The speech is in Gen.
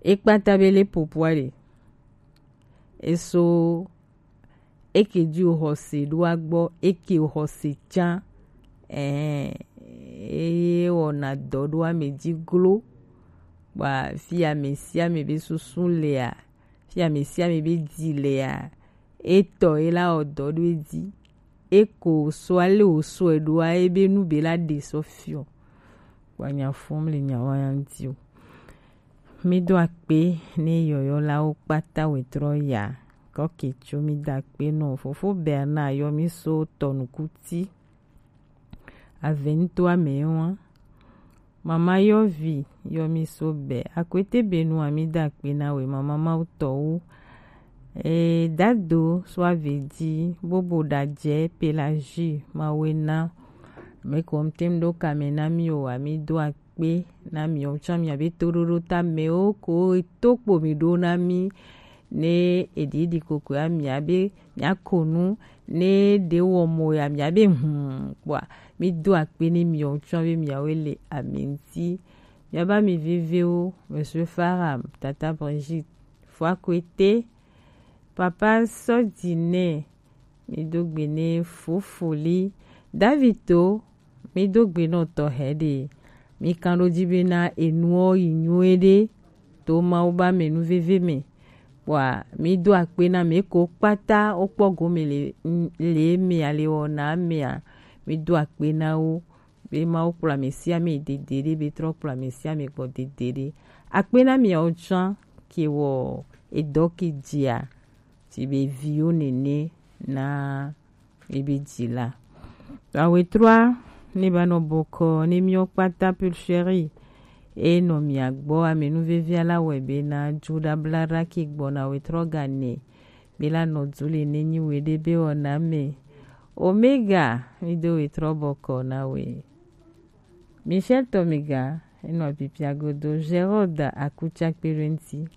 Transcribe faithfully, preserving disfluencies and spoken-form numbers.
E kpata be le popua ɖe. E so eke ji o xɔse ɖo agbɔ, eke o xɔse can. Ɛɛ, eye wɔna dɔ ɖo ame ji glo. Bua fi ame sia ame be susu lea, fi ame sia ame be ji lea, etɔ ye la wɔ dɔ ɖo edzi. Eko so ale o so e ɖoa, ebe nu be la ɖe sɔ fiɔ. Kpɔ nya fɔm le nya wa ya ŋuti o. Mi do akpe ne yɔyɔlawo kpata wetrɔ ya. Kɔke tso mi do akpe nɔ fofo Bernard yɔ mi so tɔnukuti. Avento ame wa. Mama yɔvi yɔ mi so bɛ. Akwete benu ami do akpe na we mama mawu tɔwo. E dado so avedi bobo da je pelagie mawe na. Me ko mtem do kame na mi o ami do akpe na mi o tsa mi abe toɖoɖo ta me o ko to kpo mi ɖo na mi. Ne eɖiɖi koko ya mi abe mi akonu ne ɖe wɔ mo ya mi abe hmm kpɔa mi do akpe ne mi o tsa be mi awe le ami ŋuti. Mi aba mi viviwo, Monsieur Faram, Tata Brigitte, Foakwete, Papa Sɔdinɛ, mi do gbe ne Fofoli, Davito, mi do gbe nɔ tɔ hɛ ɖe. Mi kan ɖo ji be na enuɔ yi nyuie ɖe to Mawu ba me nu veve me. Kpɔa mi do akpe na me ko kpata wo kpɔ gome le le mea le wɔna mea. Mi do akpe na wo. Be Mawu kplɔ ame sia ame dede ɖe, be trɔ kplɔ ame sia ame gbɔ dede ɖe. Akpe na miawo tsã ke wɔ edɔ ke dzia, ci be viwo nene na ebe dzila. Awe trɔa ne ba nɔ bɔkɔ ne miawo kpata pulcheri e nɔ mia gbɔ ame nu vevia la wɛ be na dzu ɖa bla ɖa ke gbɔna awe trɔ ga ne be la nɔ du le ne nyi we ɖe be wɔna me. Omega, mi do wetrɔ bɔkɔ na we. Michel Tomega, enɔ pipia godo, Gerald Akutsakpe ɖo ŋti.